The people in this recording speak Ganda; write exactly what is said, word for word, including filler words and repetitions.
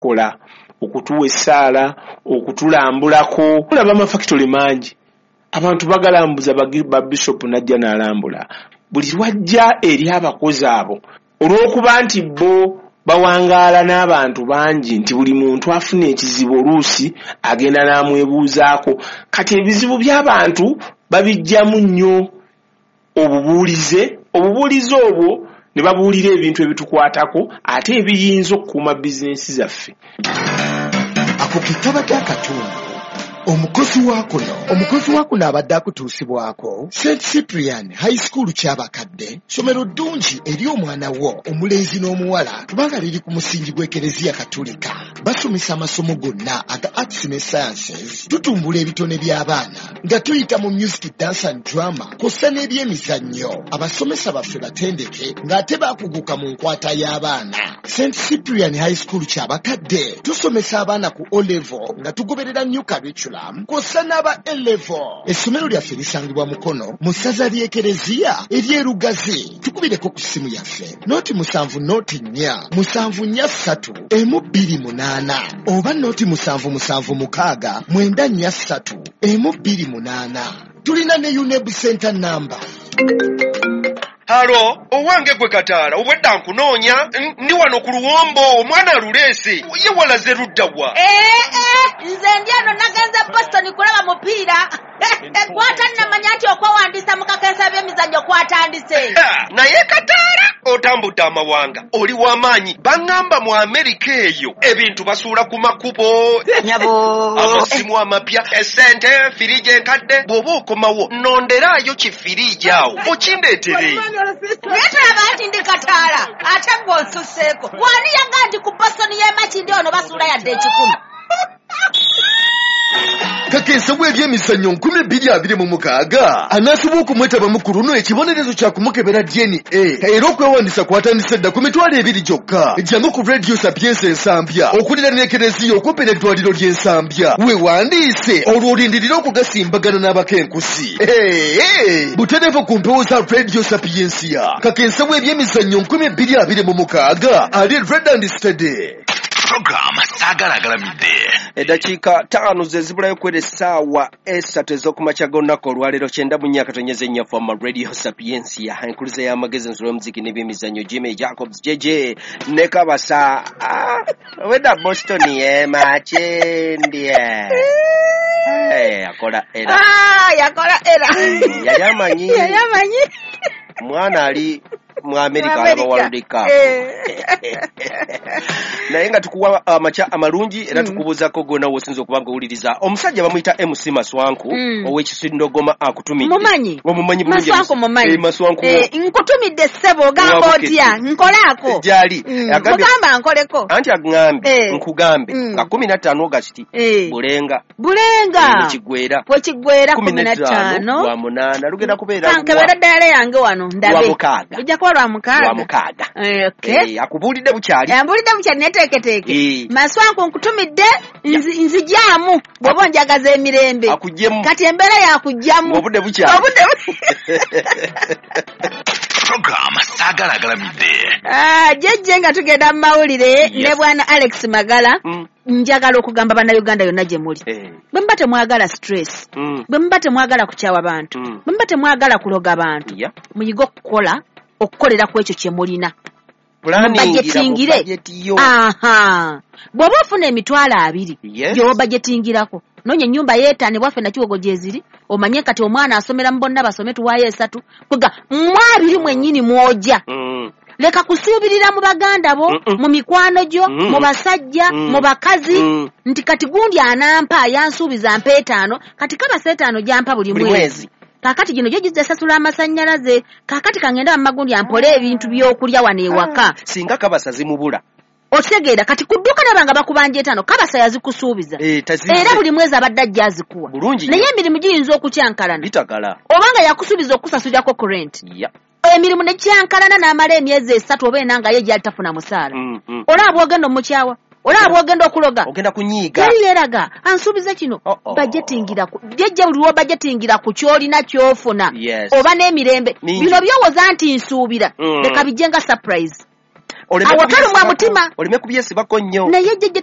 Kola okutuwa essaala, okutulambulako. Olaba amafakitole mangi, abantu bagalambuza, ba bishopu najja n'alambula. Buli lwajja eri abakozi abo, olw'okuba nti bo bawangaala n'abantu bangi, nti buli muntu afuna ekizibu oluusi agenda n'amwebuuzaako. Kati ebizibu by'abantu babijjamu nnyo obubuulize, obubuulize obwo ne babuulira ebintu ebitukwatako ate ebiyinza okukuuma bizinensi zaffe. Ako ke kabadde akatundu omukozi wa kuno. Omukozi wa kuno abadde akutuusibwako Saint Cyprian High School Kyabakadde, ssomero ddungi eri omwana wo omulenzi n'omuwala, kubanga liri ku musingi gw'Ekereziya Katulika. Basomesa amasomo gonna aga arts ne sciences. Tutumbula ebitone by'abaana nga tuyita mu music, dance and drama, kw'ossa n'ebyemizannyo. Abasomesa baffe batendeke ng'ate baakuguka mu nkwata y'abaana. Saint Cyprian High School Kyabakadde tusomesa abaana ku O level nga tugoberera new curriculum, kw'ossa n'aba A level. Essomero lyaffe lisangibwa Mukono mu ssaza ly'Ekereziya ery'Erugazi. Tukubireko ku ssimu yaffe noti musanvu noti nnya musanvu nnya ssatu emu bbiri munaana oba noti musanvu musanvu mukaaga mwenda nnya ssatu emu bbiri munaana. Tulina ne UNEB center number. Halo, owange gwe Kataala, obwedda nkunoonya, ndi wano ku luwombo, omwana aluleese. Ye walaze ludda wa? Ee, ee, nze ndi eno, nagenze Boston kulaba mupiira. Kwata nnamanya nti okwewandiisa mu kakensa by'emizannyo kwatandise. Naye Kataala, otambudde amawanga, oli w'amaanyi. Baŋŋamba mu Amerika eyo ebintu basuula ku makubo. Nyabo. Amasimu amapya, essente, firiji enkadde. Bw'oba okomawo, nonderaayo kifiriji awo, okindeetere. Naye tolaba nti ndi Kataala, ate gwe onsusseeko. Wani yaga nti ku Boston y'e Makindye ono basuula yadde ekikumi? Kakensa w'ebyemizannyo nkumi bbiri abiri mu mukaaga anaasibwa okumwetabamu ku luno ekibonerezo kya kumukebera D N A, era okwewandiisa kwatandise dda ku mitwalo ebiri gyokka. Jangu ku Radio Sapientia Ensambya okuliraana Ekereziya okumpi n'eddwaliro ly'Ensambya, weewandiise olwo olindirire okugasimbagana n'abakenkusi butereevu ku mpewo za Radio Sapientia. Kakensa w'ebyemizannyo nkumi bbiri abiri mu mukaaga ali ready and steady. Program Saagala Agalamidde. Eddakiika ttaano ze zibulayo kwera essaawa esatu ez'okumakya g'olunaku olwaleero, kyenda mu nnya akatonyeza ennya Fama Radio Sapientia, enkuliza y'amagezi, ensolo y'omuziki n'ebyemizannyo. Jimmy Jacobs J J ne Kabasa. Ah, weda Boston ye Makindye. Eh, akola era. Ah, yakola era. Yali amanyi. Yali amanyi. Mwana ali mu America alaba World Cup. Naye nga tukuwa amakya amalungi era tukubuuzaako gonna w'osinza okuba nga owuliriza. Omusajja bamuyita M C Maswanku Mm. ow'Ekisindogoma akutumidde. Mumanyi? Omumanyi bulungi. Maswanku mumanyi. Eh, Maswanku. Eh, nkutumidde ssebo, ogamba Wabukete. otya? Nkolaako. Gyali. Mm, Agambye- mugamba nkoleko. Anti aŋŋambye Eh. nkugambe Mm. nga kumi na ttaano August Eh. Bulenga. Bulenga. Wekigwera. Wekigwera kumi kumi na ttaano. Lwa munaana lugenda kubeera Kankebera ddala yange wano ndabe. Lwa mukaaga. Lujja kuba lwa mukaaga. Lwa mukaaga. Eh, okay. Eh, akubuulidde bukyali. Ambulidde bukyali neteeketeeke. Eh. Maswanku nkutumidde, nzi- nzijaamu bw'oba onjagaza emirembe. Akugyemu. Kati embeera yakugjamu. Obudde bukyali. Obudde bu- Program Saagala Agalamidde. Ah, jjejje nga tugenda mu mawulire Yes. ne bwana Alex Magala, Mm. njagala okugamba Bannayuganda yonna gye muli, Eh. bwe muba temwagala stress, Mm. bwe muba temwagala kukyawa bantu, Mm. bwe muba temwagala kuloga bantu, Yeah. muyige okukola, okukolera ku ekyo kye mulina. Planningira mu Budgetingire. budget yo. Aha, bw'oba ofuna emitwalo abiri, Yes. gy'oba budgetingirako, noonya ennyumba yeetaano bwaffe Nakiwogo gyeziri, omanye kati omwana asomera mu bonna basome, tuwaayo esatu, kwega mu abiri mwennyini mw'ojja. Mm. Leka kusuubirira mu baganda bo, Mm-mm. mu mikwano gyo, Mm. mu basajja, Mm. mu bakazi, Mm. nti kati gundi anampa, yansuubiza mpa etaano, kati kabasa etaano gyampa buli Buli mwezi, mwezi. kaakati gino gyo gizza esasula amasannyalaze, kaakati kangende bamagundi ampole ebintu by'okulya wano ewaka. Singa kabasa zimubula. Okitegeera? Kati ku dduuka naba nga bakubanja etaano, kabasa yazikusuubiza, Eh, tazize. era buli mwezi abadde ajja azikuwa. Bulungi Naye nnyo. emirimu giyinza okukyankalana, Bitagala. obanga yakusuubiza okusasulirako ku rent, Yeah. emirimu ne kyankalana n'amala emyezi esatu oba ena nga ye gyali tafuna musaala, Mm, mm. olaba bw'ogenda omukyawa, olaba bw'ogenda okuloga. Ogenda kunyiiga. Teri yeeraga ansuubiza kino. Oh, oh. Budgetingira ku jjejja, buli lw'obudgetingira ku ky'olina ky'ofuna, Yes. oba n'emirembe. Mingi. Bino byowoza nti nsuubira, Mm. leka bijje nga surprise. Oleme Awo tolumwa kubyesibako- mutima. Oleme kubyesibako nnyo. Naye jjajja teri.